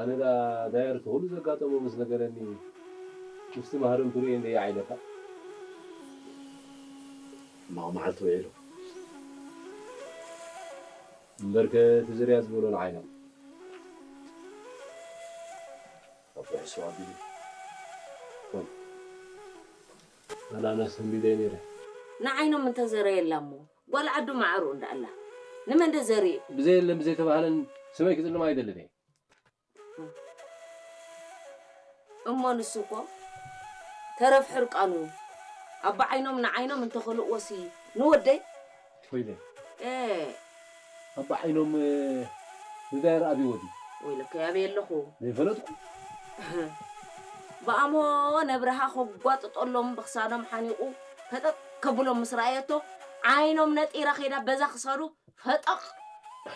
ኣነ ዳ ዳየር እቲ ኩሉ ዘጋጠሞ ምስ ነገረኒ ምስቲ ማህረምቱ ርእየ እንደ ይዓይለካ። ሕማቕ መዓልቲ ውዒሉ። እምበርከ እቲ ዝርያ ዝበሎ ንዓይና። ኣብ ርሑስ ኣቢሉ። ኣናናስ ተንቢደ ነይረ። ንዓይኖም እንተዘረየላ እሞ ጓል ዓዱ ማዕሩ እንዳኣላ ንመን ደ ዘርኢ? ብዘየለን ብዘይተባህለን ስመይ ክጽልም ኣይደልን እየ። እሞ ንሱ እኮ ተረፍ ሕርቃኑ ኣባ ዓይኖም ንዓይኖም እንተኸልእዎሲ ንወደይ ኮይነ እ ኣባ ዓይኖም ንዳየር ኣብይዎ ድዩ? ወይለከ ያበየ ኣለኹ። ዘይፈለጥኩ። ብኣሞ ነብርሃ ከጓጥጠሎም ብክሳዶም ሓኒቑ ፈጠጥ ከብሎም ምስ ረኣየቶ ዓይኖም ነጢራ ከይዳ በዛ ክሳዱ ፈጠቕ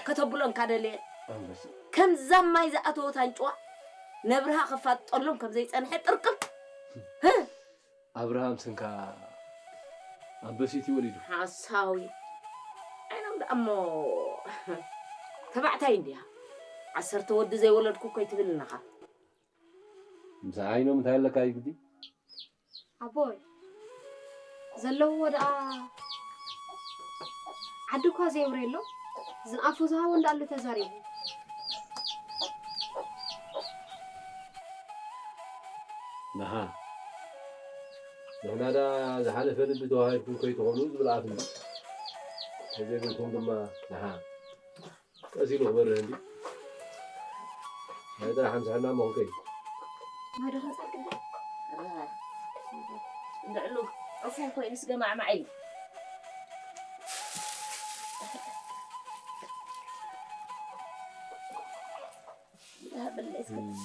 ከተብሎ እንካደለየ ኣንበሳ። ከምዛ ማይ ዝኣተወት ኣንጭዋ ነብርሃ ከፋጥጠሎም ከም ዘይጸንሐ ጥርቅም። ኣብርሃም ስንካ ኣንበሲት ይወሊዱ። ሓሳዊ ዓይኖም ደኣ እሞ ተባዕታይ እንድያ። ዓሰርተ ወዲ ዘይወለድኩ እኮ ይትብል ኣለኻ። ምስ ዓይኖም እንታይ ኣለካ ይግዲ? ኣቦይ ዘለውዎ ደኣ ዓዲ እኳ ዘየውረየሎም ዝንኣፎ ዝሃቦ እንዳኣሉ ተዛሪቡ። ንሃ ንሕና ዳ ዝሓለፈ ልቢ ተዋሂድኩም ከይትኾኑ ዝብል ኣፍ እንዲ ተዘይብልኩም ድማ ንሃ ቀስ ኢሉ ክበርህ እንዲ ናይ ጥራሕ ምሳሕና መኹንከይ ማዶ ከንጻልክ እንድዕሉ ዕፉን ኮይኑስ ገማዕማዕ ኢሉ።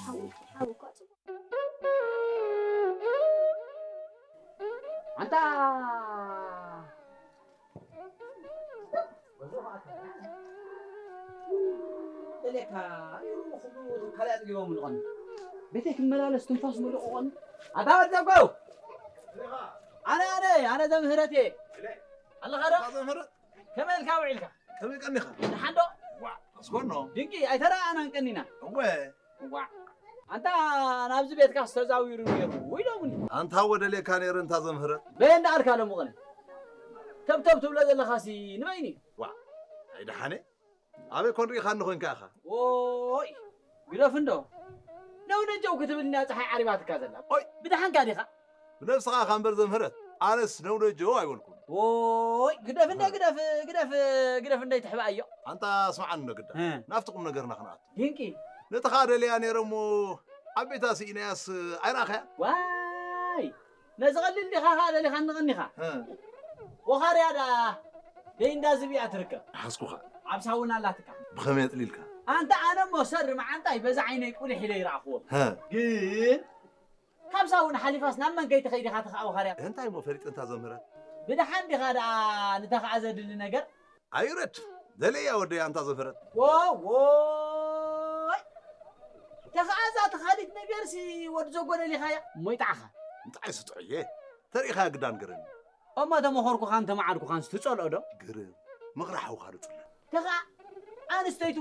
ሓው ሓው እኮ ኣንታ ደሌካ ካልእ ኣጽጊቦም ልቐኒ ቤተይ ክመላለስ ትንፋስ ምልቕቖኒ ኣታ ወዲ ዘጎው ኣነ ኣነ ኣነ ዘምህረት እየ ኣለኻ ዶ ዘምህረት ከመይ ኢልካ ውዒልካ ከመይ ቀኒኻ ደሓን ዶ ዋ ኣስኮኖ ድንቂ ኣይተረኣኣናን ቀኒና እወ ዋዕ ኣንታ ናብዚ ቤትካ ዝተዛዊሩ ነይሩ ኢሎምኒ ኣንታ ወደሌካ ነይረ እንታ ዘምህረት በየ እንዳኣልካ ሎምቕነ ተብተብ ትብሎ ዘለኻሲ ንበይኒ ዋዕ ኣይደሓነ ኣበይ ኮን ርኢኻኒ ኮንካ ኢኻ ኦይ ግደፍ እንዶ ነውነጀው ክትብልና ፀሓይ ዓሪባትካ ዘላ ኦይ ብደሓንካ ዲኻ ብነብስኻ እኻ እምበር ዘምህረት ኣነስ ነውነጀው ኣይበልኩን ኦይ ግደፍ እንደ ግደፍ ግደፍ ግደፍ እንደ ይትሕባእዮ ኣንታ ስምዓኒ እንዶ ግዳ ናብቲ ቁም ነገርና ክንኣቱ ድንቂ ነቲ ኸኣ ደልያ ነይረ እሞ ኣብ ቤታ ስኢናያስ ኣይረኣኻያ ዋይ ነዚ ቐሊል ዲኻ ኸኣ ደሊኻ ንቐኒኻ ወኻርያ ደኣ ደይ እንዳ ዝብያ ትርከብ ሓዝኩኻ ኣብ ሳውና ኣላትካ ብኸመይ ኣጥሊልካ ኣንታ ኣነ እሞ ሰሪ መዓንጣይ በዛ ዓይነይ ቁሊሕ ኢለ ይረኣኽዎ ግን ካብ ሳውና ሓሊፋስ ናብ መን ከይትኸይድ ኢኻ ተኸኣ ወኻርያ እንታይ እሞ ፈሊጠ እንታ ዘምህረት ብድሓን ዲኻ ደኣ ንተኸኣ ዘድሊ ነገር ኣይውረድ ደለያ ወደይ ኣንታ ዘፈረት ወወይ ተኸኣዛ ተኻሊት ነገርሲ ወዲ ዘጎደሊኻያ እሞ ይጣዕኻ እንታይ ስጥዑየ ተሪኢኻ ግዳን ግርም እሞ ተመኸርኩኻን ተመዓድኩኻን ስትጸልኦ ዶ ግርም ምኽሪ ሓውኻ ዶ ጽለ ተኸኣ ኣንስተይቱ